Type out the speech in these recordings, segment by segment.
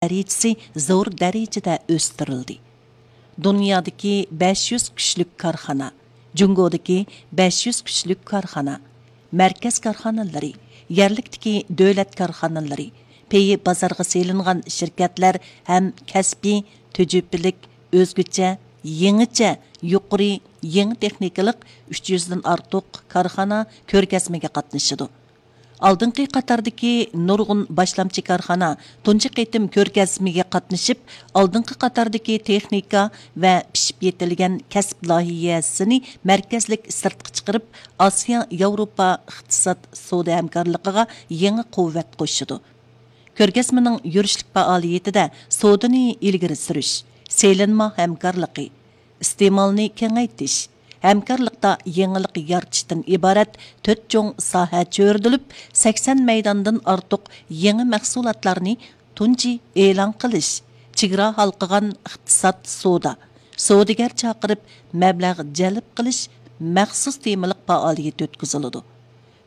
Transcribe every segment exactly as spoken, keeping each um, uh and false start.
دەرىجىسى زور دەرىجىدە ئۆستۈرۈلدى. دۇنيادىكى بەش يۈز كۈچلۈك كارخانا، جۇڭگودىكى بەش يۈز كۈچلۈك كارخانا، مەركەز كارخانىلىرى، يەرلىكتىكى دۆلەت كارخانىلىرى، پېيى بازارغا سېلىنغان شىركەتلەر ھەم كەسپىي، تۈجۈپىلىك، ئۆزگىچە، يېڭىچە، يۇقىرى، يېڭى تېخنىكىلىق ئۈچ يۈزدىن ئارتۇق كارخانا كۆرگەزمىگە قاتنىشىدۇ. ئالدىنقى قاتاردىكى نۇرغۇن باشلامچى كارخانا تۇنجى قېتىم كۆرگەزمىگە قاتنىشىپ، ئالدىنقى قاتاردىكى تېخنىكا ۋە پىشىپ يېتىلگەن كەسىپ لايىھەسىنى مەركەزلىك سىرتقا چىقىرىپ، ئاسىيا ياۋروپا ئىقتىساد سودا ھەمكارلىقىغا يېڭى قۇۋۋەت قوشىدۇ. كۆرگەزمىنىڭ يۈرۈشلۈك پائالىيىتىدە سودىنى ئىلگىرى سۈرۈش، سېلىنما ھەمكارلىقى، ئىستېمالنى كېڭەيتىش، ھەمكارلىقتا يېڭىلىق يارىتىشتىن ئىبارەت تۆت چوڭ ساھە چۆرىدىلىپ، سەكسەن مەيداندىن ئارتۇق يېڭى مەھسۇلاتلارنى تۇنجى ئېلان قىلىش، چېگرا ھالقىغان ئىقتىساد سودا، سودىگەر چاقىرىپ مەبلەغ جەلپ قىلىش مەخسۇس تېمىلىق پائالىيىتى ئۆتكۈزۈلىدۇ.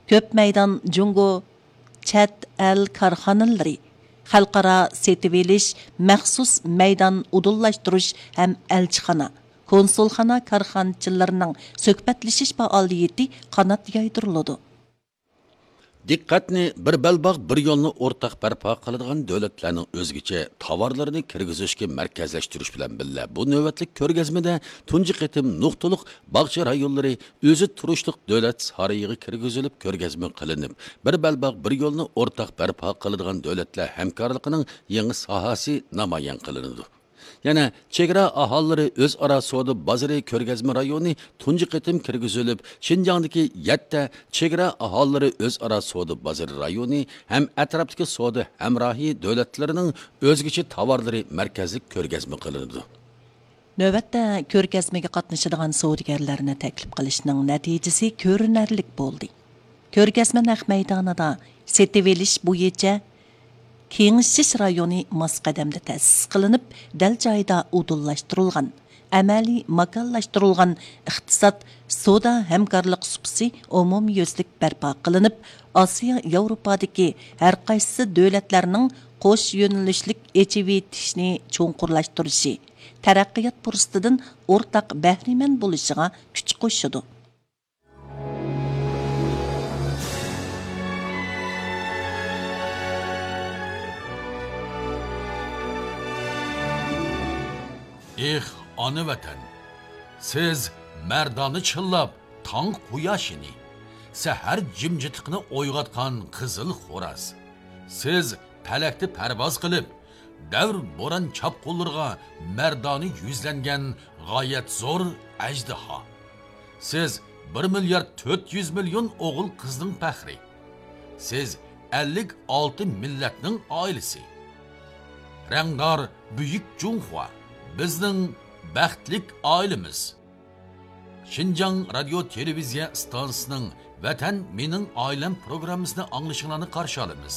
كۆپ مەيدان جۇڭگو چەت ئەل كارخانىلىرى، خەلقئارا سېتىۋېلىش، مەخسۇس مەيدان ئۇدۇللاشتۇرۇش ھەم ئەلچىخانا، كونسۇلخانا كارخانىچىلىرىنىڭ سۆھبەتلىشىش پائالىيىتى قانات يايدۇرۇلىدۇ. دىققەتنى بىر بەلباغ، بىر يولنى ئورتاق بەرپا قىلىدىغان دۆلەتلەرنىڭ ئۆزگىچە تاۋارلىرىنى كىرگۈزۈشكە مەركەزلەشتۈرۈش بىلەن بىللە، بۇ نۆۋەتلىك كۆرگەزمىدە تۇنجى قېتىم نۇقتىلىق باغچە رايونلىرى ئۆزى تۇرۇشلۇق دۆلەت سارىيىغا كىرگۈزۈلۈپ كۆرگەزمە قىلىنىپ، بىر بەلباغ، بىر يولنى ئورتاق بەرپا قىلىدىغان دۆلەتلەر ھەمكارلىقىنىڭ يېڭى ساھەسى نامايان قىلىنىدۇ. يەنە چېگرا ئاھالىلىرى ئۆزئارا سودا بازىرى كۆرگەزمە رايونى تۇنجى قېتىم كىرگۈزۈلۈپ، شىنجاڭدىكى يەتتە چېگرا ئاھالىلىرى ئۆزئارا سودا بازىرى رايونى ھەم ئەتراپتىكى سودا ھەمراھى دۆلەتلىرىنىڭ ئۆزگىچە تاۋارلىرى مەركەزلىك كۆرگەزمە قىلىنىدۇ. نۆۋەتتە كۆرگەزمىگە قاتنىشىدىغان سودىگەرلەرنى تەكلىپ قىلىشنىڭ نەتىجىسى كۆرۈنەرلىك بولدى. كۆرگەزمە نەق مەيدانىدا سېتىۋېلىش بويىچە كېڭىشىش رايونى ماس قەدەمدە تەسىس قىلىنىپ، دەل جايىدا ئۇدۇللاشتۇرۇلغان، ئەمەلىي ماكانلاشتۇرۇلغان ئىقتىساد، سودا ھەمكارلىق سۇپىسى ئومۇميۈزلۈك بەرپا قىلىنىپ، ئاسىيا ياۋروپادىكى ھەرقايسى دۆلەتلەرنىڭ قوش يۆنىلىشلىك ئېچىۋېتىشنى چوڭقۇرلاشتۇرۇشى، تەرەققىيات پۇرسىتىدىن ئورتاق بەھرىمەن بولۇشىغا كۈچ قوشىدۇ. ئېھ، ئانا ۋەتەن! سىز مەردانە چىللاپ تاڭ قۇياشىنى، سەھەر جىمجىتلىقىنى ئويغاتقان قىزىل خوراز. سىز پەلەكتە پەرۋاز قىلىپ، دەۋر بوران چاپقۇنلىرىغا مەردانە يۈزلەنگەن غايەت زور ئەجدىھا. سىز بىر مىليارد تۆت يۈز مىليون ئوغۇل قىزنىڭ پەخرى. سىز ئەللىك ئالتە مىللەتنىڭ ئائىلىسى. رەڭدار بۈيۈك جۇڭخۇا، بىزنىڭ بەختلىك ئائىلىمىز. شىنجاڭ رادىيو تېلېۋىزىيە ئىستانسىسىنىڭ ۋەتەن مېنىڭ ئائىلەم پروگراممىسىنى ئاڭلىشىڭلارنى قارشى ئالىمىز.